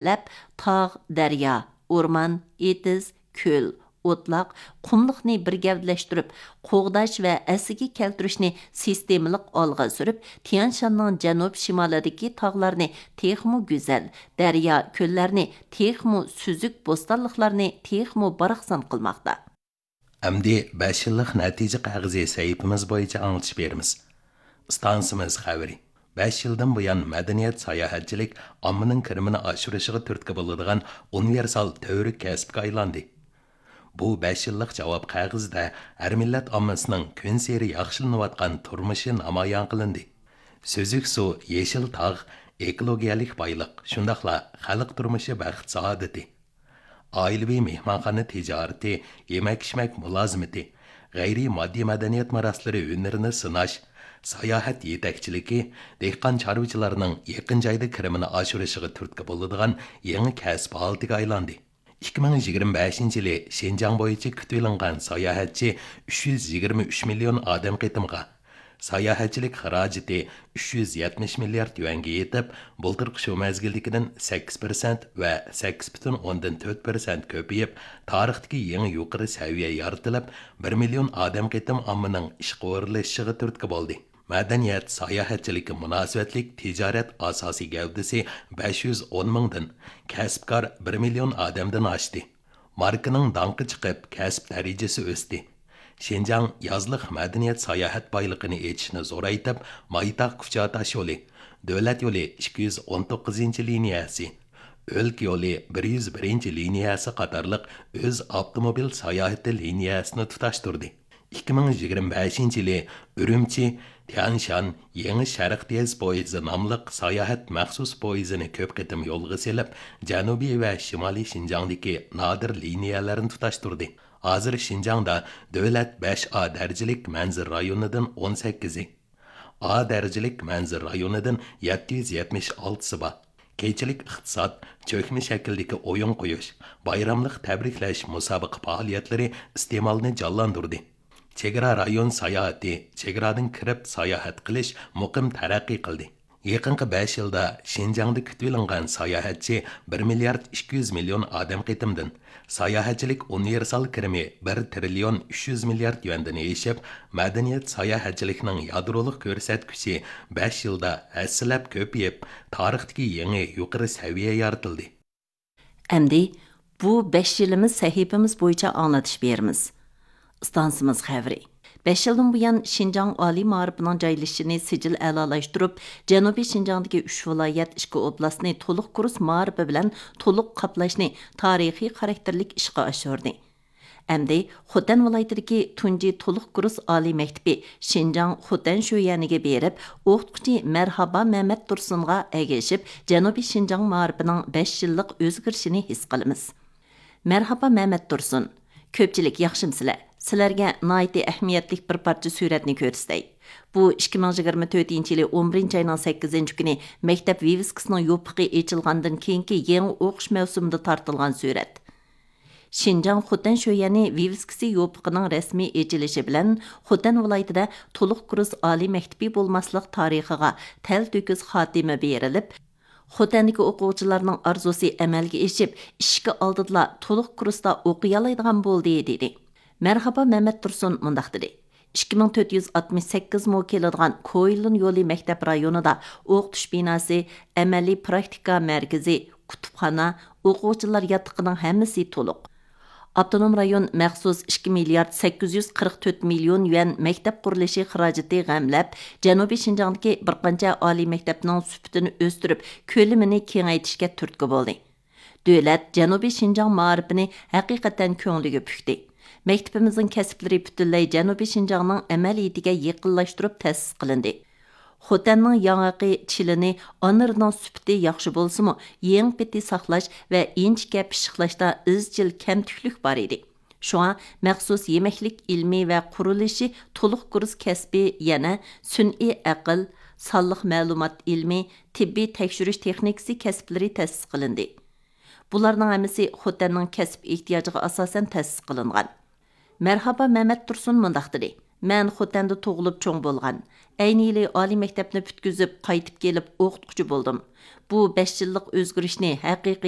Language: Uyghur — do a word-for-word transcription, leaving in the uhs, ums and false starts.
تەرەپ تاغ، دەريا، ئورمان، ئېتىز، كۆل، ئوتلاق، قۇملۇقنى بىر گەۋدىلەشتۈرۈپ، قوغداش ۋە ئەسلىگە كەلتۈرۈشنى سىستېمىلىق ئالغا سۈرۈپ، تيەنشاننىڭ جەنۇب شىمالىدىكى تاغلارنى تېخىمۇ گۈزەل، دەريا، كۆللەرنى تېخىمۇ سۈزۈك، بوستانلىقلارنى تېخىمۇ باراقسان قىلماقتا. ئەمدى بەش يىللىق نەتىجە قەغىزى سەھىپىمىز بويىچە ئاڭلىتىش بېرىمىز. ئىستانسىمىز خەۋىرى. بەش يىلدىن بۇيان مەدەنىيەت، ساياھەتچىلىك ئاممىنىڭ كىرىمىنى ئاشۇرۇشىغا تۈرتكە بولىدىغان ئۇنىۋېرسال تۈۋرۈك كەسىپكە ئايلاندى. بۇ بەش يىللىق جاۋاب قەغىزىدە ھەر مىللەت ئاممىسىنىڭ كۈنسېرى ياخشىلىنىۋاتقان تۇرمۇشى نامايان قىلىندى. سۈزۈك سۇ، يېشىل تاغ، ئېكولوگىيەلىك بايلىق، شۇنداقلا خەلق تۇرمۇشى بەخت-سائادىتى، ئائىلىۋى مېھمانخانا تىجارىتى، يېمەك-ئىچمەك مۇلازىمىتى، غەيرىي ماددىي مەدەنىيەت مىراسلىرى ھۈنىرىنى سىناش، ساياھەت يېتەكچىلىكى، دېھقان-چارۋىچىلارنىڭ يېقىن جايدا كىرىمىنى ئاشۇرۇشىغا تۈرتكە بولىدىغان يېڭى كەسىپ ھالىتىگە ئايلاندى. ئىككى مىڭ يىگىرمە بەشىنچى يىلى شىنجاڭ بويىچە كۈتۈۋېلىنغان ساياھەتچى ئۈچ يۈز يىگىرمە ئۈچ مىليون ئادەم قېتىمغا، ساياھەتچىلىك خىراجىتى ئۈچ يۈز يەتمىش مىليارد يۈەنگە يېتىپ، بۇلتۇرقى شۇ مەزگىلدىكىدىن سەككىز پىرسەنت ۋە سەككىز پۈتۈن ئوندىن تۆت پىرسەنت كۆپىيىپ، تارىختىكى يېڭى يۇقىرى سەۋىيە يارىتىلىپ، بىر مىليون ئادەم قېتىم ئاممىنىڭ ئىشقا ئورۇنلىشىشىغا تۈرتكە بولدى. مەدەنىيەت، ساياھەتچىلىككە مۇناسىۋەتلىك تىجارەت ئاساسىي گەۋدىسى بەش يۈز ئون مىڭدىن، كەسىپكار بىر مىليون ئادەمدىن ئاشتى. ماركىنىڭ داڭقى چىقىپ، كەسىپ دەرىجىسى ئۆستى. شىنجاڭ يازلىق مەدەنىيەت ساياھەت بايلىقىنى ئېچىشنى زورايتىپ، مايتاغ كۇچا تاشيولى، دۆلەت يولى ئىككى يۈز ئون توققۇزىنچى لىنىيەسى، ئۆلكە يولى بىر يۈز بىرىنچى لىنىيەسى قاتارلىق ئۆز ئاپتوموبىل ساياھىتى لىنىيەسىنى تۇتاشتۇردى. ئىككى مىڭ يىگىرمە بەشىنچى يىلى ئۈرۈمچى، تيەنشان، يېڭى شەرق تېز پويىزى ناملىق ساياھەت مەخسۇس پويىزىنى كۆپ قېتىم يولغا سېلىپ، جەنۇبىي ۋە شىمالىي شىنجاڭدىكى نادىر لىنىيەلەرنى تۇتاشتۇردى. ھازىر شىنجاڭدا دۆلەت بەش ئا دەرىجىلىك مەنزىرە رايونىدىن ئون سەككىزى، ئا دەرىجىلىك مەنزىرە رايونىدىن يەتتە يۈز يەتمىش ئالتىسى بار. كېچىلىك ئىقتىساد، چۆكمە شەكىلدىكى ئويۇن قويۇش، بايراملىق تەبرىكلەش مۇسابىقە پائالىيەتلىرى ئىستېمالنى جانلاندۇردى. چېگرا رايون ساياھىتى، چېگرادىن كىرىپ ساياھەت قىلىش مۇقىم تەرەققىي قىلدى. يېقىنقى بەش يىلدا شىنجاڭدا كۈتۈۋېلىنغان ساياھەتچى بىر مىليارد ئىككى يۈز مىليون ئادەم قېتىمدىن، ساياھەتچىلىك ئۇنىۋېرسال كىرىمى بىر تىرىليون ئۈچ يۈز مىليارد يۈەندىن ئېشىپ، مەدەنىيەت ساياھەتچىلىكنىڭ يادرولۇق كۆرسەتكۈچى بەش يىلدا ھەسسىلەپ كۆپىيىپ، تارىختىكى يېڭى يۇقىرى سەۋىيە يارىتىلدى. ئەمدى بۇ بەش يىلىمىز سەھىپىمىز بويىچە ئاڭلىتىش بېرىمىز. ئىستانسىمىز خەۋىرى. بەش يىلدىن بۇيان، شىنجاڭ ئالىي مائارىپىنىڭ جايلىشىشىنى سىجىل ئەلالاشتۇرۇپ، جەنۇبىي شىنجاڭدىكى ئۈچ ۋىلايەت، ئىككى ئوبلاستنى تولۇق كۇرس مائارىپى بىلەن تولۇق قاپلاشنى تارىخىي خاراكتېرلىك ئىشقا ئاشۇردى. ئەمدى خوتەن ۋىلايىتىدىكى تۇنجى تولۇق كۇرس ئالىي مەكتىپى شىنجاڭ خوتەن شۆيەنىگە بېرىپ، ئوقۇتقۇچى مەرھابا مەمەت تۇرسۇنغا ئەگىشىپ، جەنۇبىي شىنجاڭ مائارىپىنىڭ بەش يىللىق ئۆزگىرىشىنى ھېس قىلىمىز. مەرھابا مەمەت تۇرسۇن. كۆپچىلىك، ياخشىمۇسىلەر؟ سىلەرگە ناھايىتى ئەھمىيەتلىك بىر پارچە سۈرەتنى كۆرسىتەي. بۇ ئىككى مىڭ يىگىرمە تۆتىنچى يىلى ئون بىرىنچى ئاينىڭ سەككىزىنچى كۈنى مەكتەپ ۋىۋىسكىسىنىڭ يوپۇقى ئېچىلغاندىن كېيىنكى يېڭى ئوقۇش مەۋسۇمىدا تارتىلغان سۈرەت. شىنجاڭ خوتەن شۆيەنى ۋىۋىسكىسى يوپۇقىنىڭ رەسمىي ئېچىلىشى بىلەن خوتەن ۋىلايىتىدە تولۇق كۇرس ئالىي مەكتىپى بولماسلىق تارىخىغا تەلتۆكۈس خاتىمە بېرىلىپ، خوتەندىكى ئوقۇغۇچىلارنىڭ ئارزۇسى ئەمەلگە ئېشىپ، ئىشىك ئالدىدىلا تولۇق كۇرستا ئوقۇيالايدىغان بولدى، دېدى. مەرھابا مەمەت تۇرسۇن مۇنداق دېدى: ئىككى مىڭ تۆت يۈز ئاتمىش سەككىز مو كېلىدىغان كويلۇن يولى مەكتەپ رايونىدا ئوقۇتۇش بىناسى، ئەمەلىي پراكتىكا مەركىزى، كۇتۇپخانا، ئوقۇغۇچىلار ياتىقىنىڭ ھەممىسى تولۇق. ئاپتونوم رايون مەخسۇس ئىككى مىليارد سەككىز يۈز قىرىق تۆت مىليون يۈەن مەكتەپ قۇرۇلۇشى خىراجىتى غەملەپ، جەنۇبىي شىنجاڭدىكى بىر قانچە ئالىي مەكتەپنىڭ سۈپىتىنى ئۆستۈرۈپ، كۆلىمىنى كېڭەيتىشكە تۈرتكە بولدى. دۆلەت جەنۇبىي شىنجاڭ مائارىپىنى ھەقىقەتەن كۆڭلىگە پۈكتى. مەكتىپىمىزنىڭ كەسىپلىرى پۈتۈنلەي جەنۇبىي شىنجاڭنىڭ ئەمەلىيىتىگە يېقىنلاشتۇرۇپ تەسىس قىلىندى. خوتەننىڭ ياڭاقى چىلىنى ئانىرىنىڭ سۈپىتى ياخشى بولسىمۇ، يېڭى پېتى ساقلاش ۋە ئىنچىكە پىششىقلاشتا ئىزچىل كەمتۈكلۈك بار ئىدى. شۇڭا مەخسۇس يېمەكلىك ئىلمى ۋە قۇرۇلۇشى تولۇق كۇرس كەسپى، يەنە سۈنئىي ئەقىل، سانلىق مەلۇمات ئىلمى، تېببىي تەكشۈرۈش تېخنىكىسى كەسىپلىرى تەسىس قىلىندى. بۇلارنىڭ ھەممىسى خوتەننىڭ كەسىپ ئېھتىياجىغا ئاساسەن تەسىس قىلىنغان. مەرھابا مەمەت تۇرسۇن مۇنداق دېدى: مەن خوتەندە تۇغۇلۇپ چوڭ بولغان. ئەينى يىلى ئالىي مەكتەپنى پۈتكۈزۈپ، قايتىپ كېلىپ ئوقۇتقۇچى بولدۇم. بۇ بەش يىللىق ئۆزگىرىشنى ھەقىقىي